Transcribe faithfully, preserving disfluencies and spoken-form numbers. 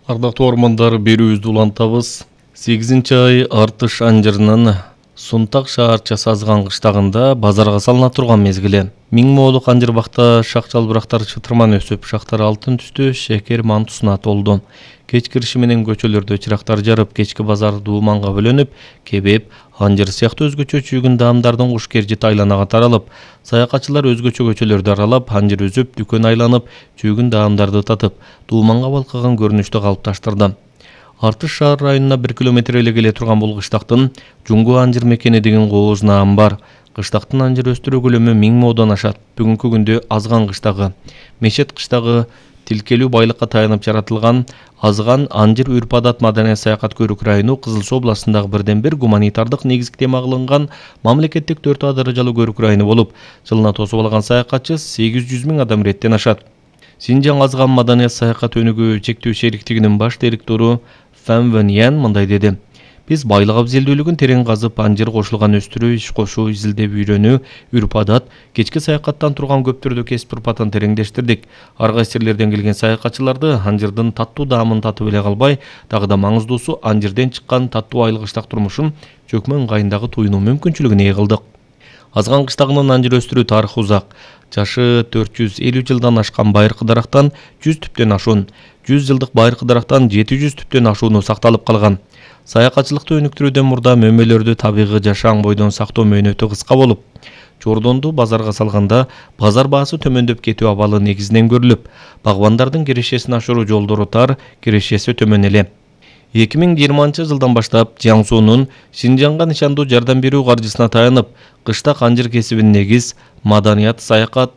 Ардактуу ормандар, берүүбүздү улантабыз. сегизинчи ай Артыш анжырынын Сунтак шаарчасы Азган кыштагында базарга салына турган мезгили. Миң моолук анжыр бакта шак жалбырактар чытырман өсүп, шактар алтын түстүү шекер мантусуна толду. Кеч кириши менен көчөлөрдө чырактар жарып, кечки базар дууманга бөлөнүп, кебеп, анжыр сыяктуу өзгөчө чүйгүн даамдардын куш кержити айланага таралып, саякатчылар өзгөчө көчөлөрдү аралап, анжыр үзүп, дүкөн айланып, чүйгүн даамдарды татып, дууманга балкыган көрүнүштү калыпташтырды. Артыш шаар районуна бир километр эле келе турган бул кыштактын Жуңгу анжыр мекени деген кооз наам бар. Кыштактын анжыр өстүрүү көлөмү миң моодан ашат. Бүгүнкү күндө Азган кыштагы, Мешет кыштагы тилкелүү байлыкка таянып жаратылган Азган анжыр үрп-адат маданий саякат көрүк району Кызыл Суу областындагы бирден бир гуманитардык негизги тема кылынган мамлекеттик төрт А даражалуу көрүк району болуп, жылына тосуп алган саякатчы сегиз жүз миң адам иреттен ашат. Синжаң Азган маданий саякат өнүгүү чектүү шериктигинин баш директору Фан Вэньян мындай деди: Биз байлык абзелдүүлүгүн терең казып, анжыр кошулган өстүрүү, иш кошуу, изилдеп үйрөнүү, үрп-адат, кечки саякаттан турган көп түрдүү кесип урпатын тереңдештирдик. Ар кайсы жерлерден келген саякатчыларды анжырдын таттуу даамын татып эле калбай, дагы да маңыздуусу анжырден чыккан таттуу айлык ыштак турмушун чөкмө ыңгайындагы туюнуу мүмкүнчүлүгүн ээ кылдык. Азган кыштагынын анжыр өстүрүү тарыхы узак. Жашы төрт жүз элүү жылдан ашкан байыркы дарактан жүз түптөн ашуун, жүз жылдык байыркы дарактан жети жүз түптөн ашууну сакталып калган. Саякатчылыкты өнүктүрүүдөн мурда мөмөлөрдү табигый жашаан бойдон сактоо мөөнөтү кыска болуп, чордонду базарга салганда базар баасы төмөндөп кетүү абалы негизинен көрүлүп, багбандардын кирешесин ашыруу жолдору тар, кирешеси төмөн эле. эки миң жыйырманчы жылдан баштап Жиаңсуунун Синжаңга нышандуу жардам берүү каржысына таянып, кыштак анжыр кесибин негиз, маданият, саякат,